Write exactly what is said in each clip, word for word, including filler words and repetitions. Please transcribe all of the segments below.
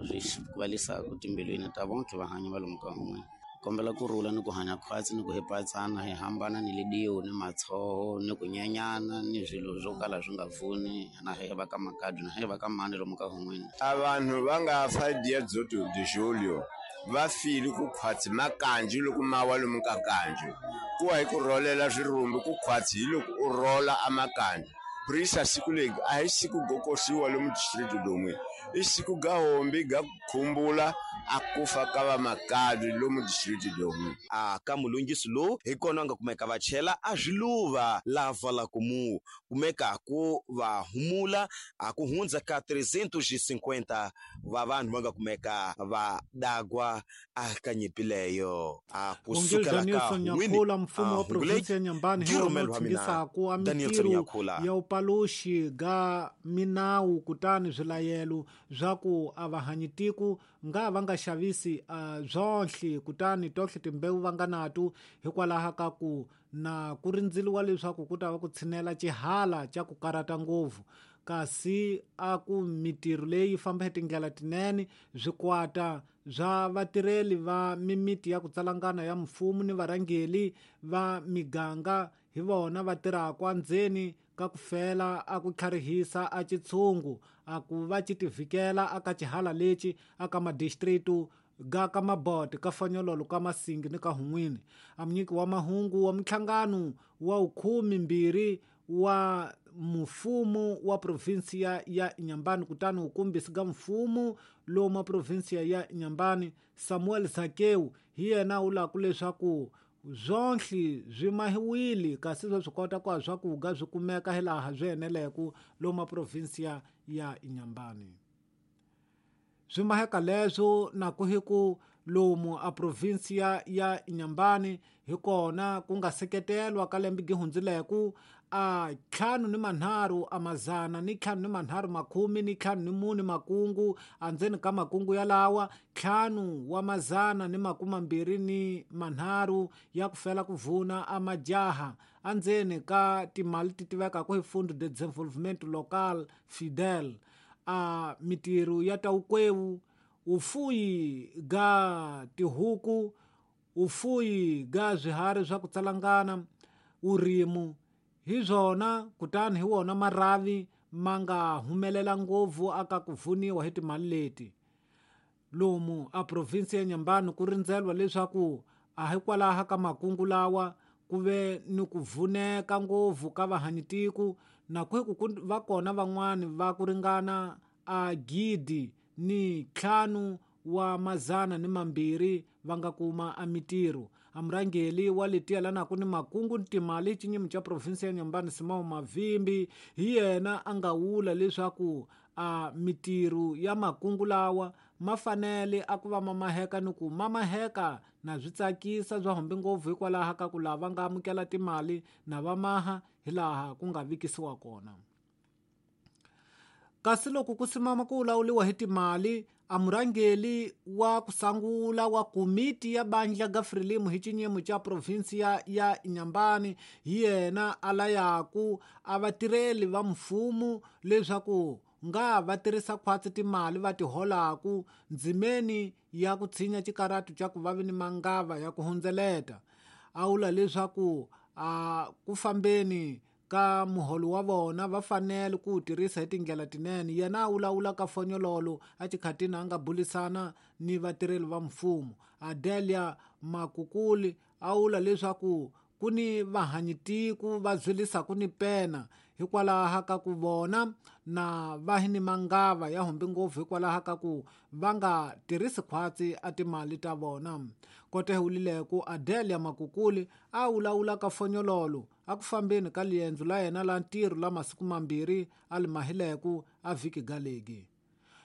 Swi valisaka timbilwini ta vonke vahanyi va lomu ka un'we. Kombela ku rhula ni ku hanya khwatsi ni ku hepatsana hi hambana ni lidiwo ni matshoho ni ku nyenyana ni swilo swo kala swi nga pfuni na he va ka makadi na he va ka mani lomu ka un'wini. A vanhu va nga fa dia dzoto de julho va file ku khwatsi makanji loko ma wa lomu ka kanji ku wa hi ku rholela swirumbi ku khwatsi hi loko u rola a makanji. Prisa siku leri a hi siku go koxiwa lomu district domwe i siku ga hombi ga khumbula a kufa ka va makadi lomu district domwe. A ka mulungisi lowu hi kona nga kumeka va chela a swiluva lava la ku mu kumeka ku va humula a ku hundza ka trezentos e cinquenta va vanhu va nga kumeka va dagwa a ka nyimpi leyo. A ku Vongeli sukela ka Danielson n'wini, Nyakhula, mfumo a wa provinsi ya Nyambani hi Di wona rhumelo wu wa mina, tshingisaku a Danielson mitirho Nyakhula. ya upaluxi ga minawu kutani swilayelo swa ku a va hanyi tiko nga va nga xavisi a byonhle kutani tohle timbewu va nga nato hikwalaho ka ku na ku rindzeliwa leswaku ku ta va ku tshinela xihala xa ku karata ngopfu kasi a ku mitirho leyi famba hi tindlela tinene swikwata swa vatirheli va mimiti ya ku tsalangana ya mfumo ni varhangeli va miganga hi vona va tirhaka endzeni ka ku fela a ku tlharihisa a xitshungu a ku va xi tivikela aka xihala lexi aka madistritu ga ka Mabote ka Fanyololo ka Masingi ni ka Hun'wini. A munyiki wa mahungu wa minhlangano wa vukhume mbirhi wa mfumo wa provinsiya ya Inhambane kutani wukumbisi ga mfumo lomu wa provinsiya ya Inhambane Samuel Zakeu hi yena u lava leswaku swonhle swi mahiwile kasi swa swi kota ku swakudya swi kumeka hilaha swi eneleke lomu wa provinsiya ya Inhambane. Swi maheka leswo na ku hi ku lomu a provinsiya ya Inhambane hi kona ku nga seketelwa ka lembe gi hundzileke a ntlhanu ni manharhu a mazana ni ntlhanu ni manharhu makhumi ni ntlhanu ni mune makungu andzeni ka makungu yalawa ntlhanu wa mazana ni makume mambirhi ni manharhu ya ku fela ku vuna a majaha andzeni ka timali ti tivekaka hi Fundo de Desenvolvimento Local Fidel a mitirho ya ta wukwewu ufuyi ga tihuku ufuyi ga swiharhi swa ku tsalangana urimu hi swona kutani hi wona marhavi ma nga humelela ngopfu aka ku pfuniwa hi timali leti lomu a provinsi ya Inhambane ku rindzelwa leswaku a hikwalaho ka makungu lawa ku ve ni ku vuneka ngopfu ka vahanyitiko na ku ku va kona van'wani va ku ringana a gidi ni ntlhanu wa mazana ni mambirhi va nga kuma a mitirho. A murhangeri wa letiya lanaku ni makungu ni timali xinyimi xa provinsi ya Inhambane Simão Mavimbi hi yena a nga vula leswaku a mitirho ya makungu lawa ma fanele a ku va ma maheka ni ku ma maheka na swi tsakisa swa hombe ngopfu hikwalaho ka ku lava nga amukela timali na va maha hilaha ku nga vikisiwa kona. Kasi loko ku simama ku lawuriwa hi timali a murhangeri wa ku sangula wa komiti ya bandla ga Frelimo hi xinyimo xa provinsiya ya Inhambane hi yena a layaku a vatirheli va mfumo leswaku nga va tirhisa khwatsi timali va ti holaku ndzimeni ya ku tshinya xikaratu xa ku va vi ni mangava ya ku hundzeleta. A vula leswaku a ku fambeni ka muholo wa vona va fanele ku tirhisa hi tindlela tinene. Yena a vulavula ka fonyololo a xikhatini a nga bulisana ni vatirheli va mfumo. Adelia Makukuli a vula leswaku ku ni vahanyitiko va byilisaka ni pena hikwalaho ka ku vona na va hi ni mangava ya hombe ngopfu hikwalaho ka ku va nga tirhisi khwatsi a timali ta vona. Kote hulileko Adelia Makukuli a vulavula ka fonyololo a ku fambeni ka liendzo la yena la ntirho la masiku mambirhi a li mahileko a vhiki galegi.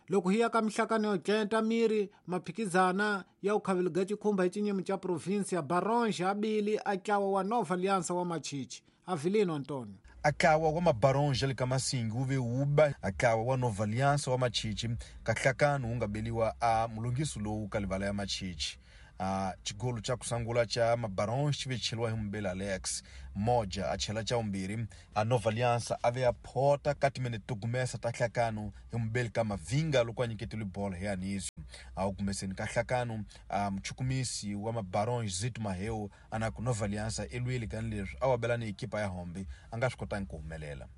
Loko hi ya ka mihlakano yo centa miri maphikizana ya ku khaveliga xikhumba hi xinyimi xa provinsi ya Baronge abili a ntlawa wa Nova Aliança wa Machichi. Avelino Antonio. Akawa wa Mabaronge le ka Masingi wu ve wuba akawa wa Nova Aliança wa Machichi kahlakano wu nga beliwa a mulungiso lowu ka livala ya Machichi. A xigolo xa ku sungula xa Mabarons xi ve cheliwa hi Mubeli Alex Moja a chela xa vumbirhi a Nova Aliança a ve a phota ka timinete to gumesa ta hlakano hi Mubeli ka Mavinga loko a nyiketile bolo hi Anisio a wu gumeseni ka hlakano a muchukumisi wa Mabarons Zito Maheo a na ku Nova Aliança i lwile kani leswi a wa bela ni ekipa ya Hombe a nga swi kotangi ku humelela.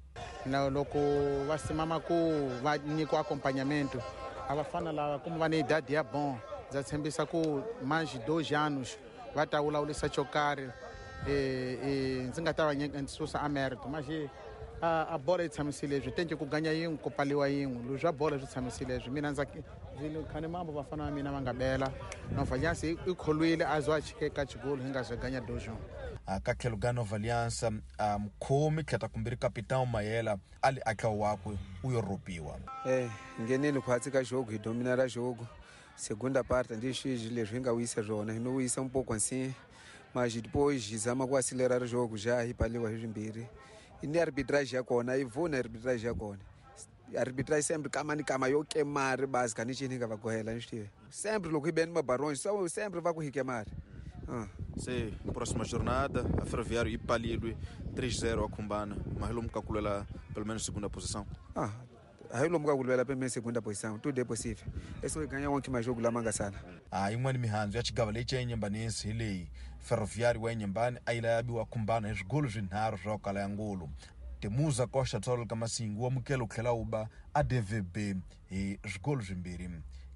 Na loko va simama ku va nyikiwa acompanhamento a va fana lava kuma va ni idade ya bon ndza tshembisa ku mais dois anos va ta vulavurisa xo karhi ndzi nga ta va susa a mérito mas a a bola yi tshamisile leswi tenke ku ganya yin'we ku pfaliwa yin'we leswi swa bola swi tshamisile leswi mina ndza khani mambo vafana va mina va nga bela Nova Aliança i kholwile a zo a chike ka xigolo hi nga ze ganya dois. Ka tlhelo ka Nova Aliança a mukhomi tlheta kumbirhi capitão Mayela a li atla wakwe u yo ropiwa. Eh nghenile khwatsi ka jogo hi domina ra jogo segunda parte ndi xi leswi hi nga wisa swona hi no wisa um pouco assim mas depois zama ku acelerar o jogo já hi paliwa hi swimbirhi ni arbitrage ya kona yi vuna arbitrage ya kona arbitrage sempre kama ni kama yo kemari basi kani xini nga va gohela ni swi tive sempre loko hi beni Mabarons sempre va ku hi kemari. Ah. Se próxima jornada a Ferroviário ipalilwe três zero a Cumbana, mas lomu ka kulela pelo menos segunda posição. Ah, hayi lomu ka kulela pelo menos segunda posição, tudo é possível. É só ganhar um último jogo lá mangasana. Ah, yin'wana mihandzu ya xigava lexi ya Inhambane hi leyi Ferroviário wa Inhambane a yi laviwa Cumbana hi swigolo swinharhu swa kala ya ngulu. Temuza Costa Tsolo ka Masingu wa mukelo tlhela wu ba a D V B hi swigolo swimbirhi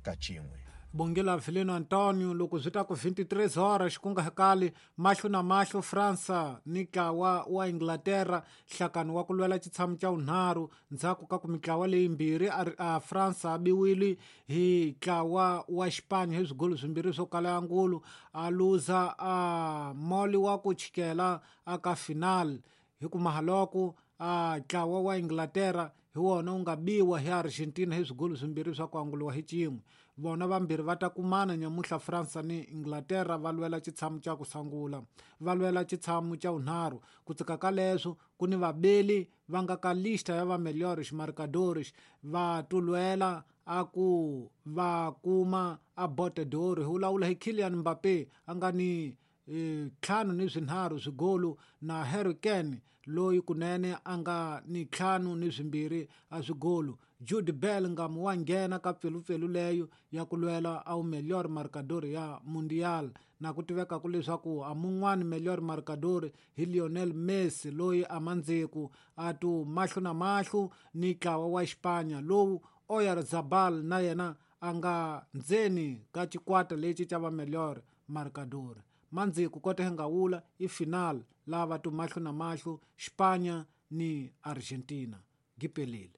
ka xin'we. Bongela Vileno Antonio loko swi ta ku vinte e três horas ku nga hakali mahlo na mahlo França ni ntlawa wa Inglaterra nhlakano wa ku lwela xitshamo xa vunharhu ndzhaku ka ku mitlawa leyimbirhi a França a biwile hi ntlawa wa Xipanya hi swigolo swimbirhi swo kala ya ngulu a luza a moli wa ku chikela aka final hi ku mahaloko a ntlawa wa Inglaterra hi wona wu nga biwa hi Argentina hi swigolo swimbirhi swa ku anguliwa hi xin'we. Vona vambirhi va ta kumana nyamuhla França ni Inglaterra va lwela xitshamo xa ku sungula va lwela xitshamo xa vunharhu ku tsika ka leswo ku ni vabeli va nga ka lista ya va melhores marcadores va tulwela a ku va kuma a Bote d'Or hi vulavula hi Kylian Mbappé a nga ni ntlhanu ni swinharhu swigolo na Harry Kane loyi kunene a nga ni ntlhanu ni swimbirhi a swigolo. Jude Bellingham wa nghena ka pfelupfelu leyo ya ku lwela a wu melhor marcador ya Mundial na ku tiveka ku leswaku a mun'wani melhor marcador hi Lionel Messi loyi a mandziku a tu mahlo na mahlo ni ntlawa wa Xipanya lowu Oyarzabal na yena a nga ndzeni ka xikwata lexi xa va melhor marcador. Mandziku kota hi nga wula i final lava tu mahlo na mahlo Xipanya ni Argentina. Gipelile.